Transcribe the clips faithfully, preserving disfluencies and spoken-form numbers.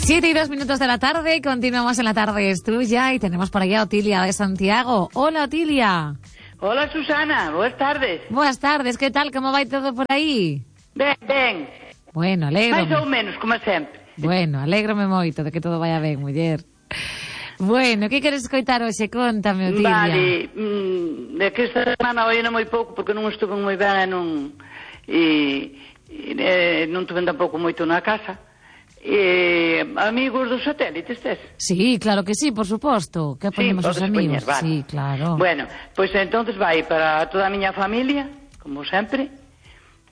Siete y dos minutos de la tarde, continuamos en La Tarde es Tuya y tenemos por aquí a Otilia de Santiago. Hola, Otilia. Hola, Susana, boas tardes. Boas tardes, que tal, como vai todo por aí? Ben, ben. Bueno, alégrome. Mais ou menos, como sempre. Bueno, alégrome moito de que todo vaya ben, muller. Bueno, que queres escoitar hoxe? Contame, Otilia. Vale, mm, de que esta semana oína moi pouco porque non estuve moi ben e non, e, e, non tuve tampouco moito na casa. E, amigos dos satélites, tes? Sí, claro que sí, por suposto. Que ponemos sí, os amigos? Poñer, vale. Sí, claro. Bueno, pois pues, entonces vai para toda a miña familia, como sempre.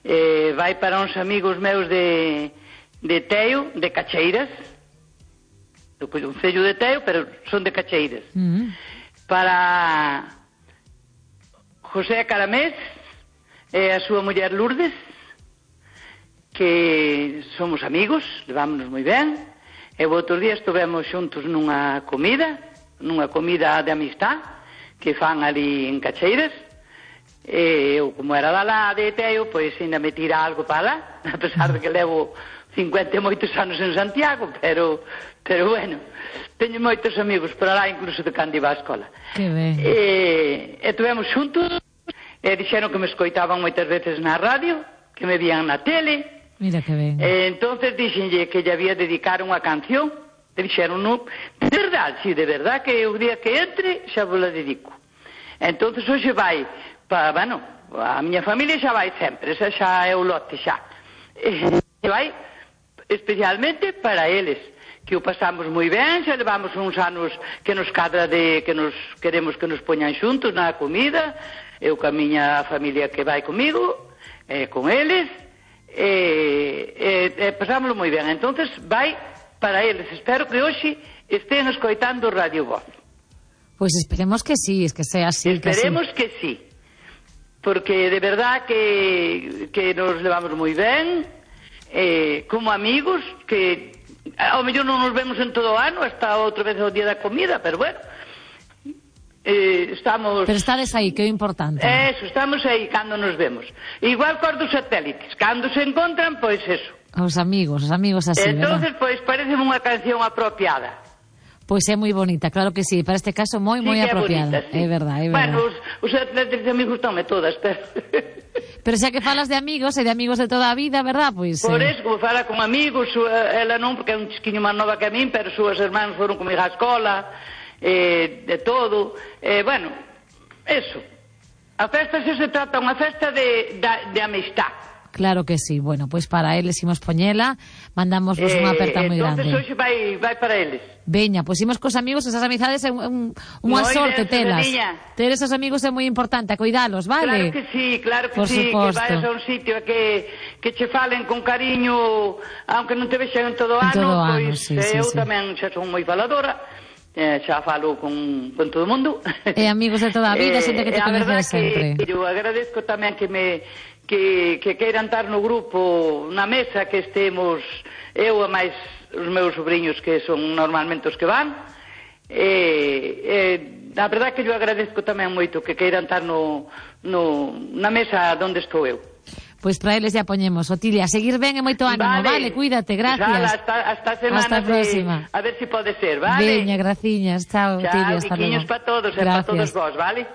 Eh, vai para uns amigos meus de, de Teo, de Cacheiras. Do concello de Teo, pero son de Cacheiras. Mm. Para José Caramés e a súa muller Lourdes, que somos amigos, levámonos moi ben, e o outro día estivemos xuntos nunha comida, nunha comida de amistad, que fan ali en Cacheiras, e eu, como era da lá de Teo, pois ainda me tira algo para lá, a pesar de que levo cincuenta e moitos anos en Santiago, pero, pero bueno, teño moitos amigos para lá, incluso de cando iba á escola. Que ben. E, e tivemos xuntos, e dixeron que me escoitaban moitas veces na radio, que me vían na tele. Mira que ben. E entonces dixenlle que lle había dedicar unha canción, e dixeron, no, de verdade, si, de verdade, que o día que entre xa vos la dedico. Entonces hoxe vai, pa, bueno, a miña familia xa vai sempre, esa xa é o lote xa. E vai especialmente para eles, que o pasamos moi ben, xa levamos uns anos que nos cadra de que nos queremos que nos poñan xuntos na comida, eu ca miña familia que vai comigo, e con eles, e, e, e pasámoslo moi ben. Entonces vai para eles. Espero que hoxe estén escoitando Radio Voz. Pois esperemos que sí, es que sea así. Esperemos que sí, que sí, porque de verdad que, que nos levamos moi ben, eh, como amigos, que ao mellor non nos vemos en todo o ano, hasta outra vez o día da comida, pero bueno, eh, estamos... Pero estades aí, que é o importante. Eso, estamos aí cando nos vemos. Igual cos dos satélites, cando se encontran, pois eso. Os amigos, os amigos así, entonces, ¿verdad? pois parece unha canción apropiada. Pois é moi bonita, claro que sí, para este caso moi, sí, moi apropiada. É, bonita, sí. É verdad, é verdad. Bueno, os, os atletas de amigos gustan todas, pero... Pero xa que falas de amigos e de amigos de toda a vida, verdad? Pois, Por eh... eso, como fala con amigos, súa, ela non, porque é un chisquiño máis nova que a min, pero súas hermanos foron comigo á escola, eh, de todo, eh, bueno, eso. A festa se se trata unha festa de, de, de amistad. Claro que sí. Bueno, pois pues para eles imos poñela, mandamos vos unha aperta moi grande. Entonces hoxe vai, vai para eles. Veña, pois pues imos cos amigos, esas amizades é un, un, unha sorte telas. Ter esos amigos é moi importante, a cuidalos, vale? Claro que sí, claro que Por sí, suposto. que vayas a un sitio que, que che falen con cariño, aunque non te vexan en todo o ano, todo pois ano, sí, eu sí, tamén xa son moi faladora, eh, xa falo con, con todo o mundo. E amigos de toda a vida, xente que te conoce sempre. Que eu agradezco tamén que me que, que queiran estar no grupo, na mesa, que estemos eu e máis os meus sobrinhos que son normalmente os que van, e, e a verdade que eu agradezco tamén moito que queiran estar no, no, na mesa onde estou eu. Pois para eles ya poñemos. Otilia, seguir ben e moito ánimo, vale, vale cuídate, gracias. Xala, hasta, hasta semana. Hasta a próxima. De, a ver se si pode ser, vale? Veña, graciñas, chao, chao, Otilia, hasta luego. Chao, para todos, e para todos vos, vale?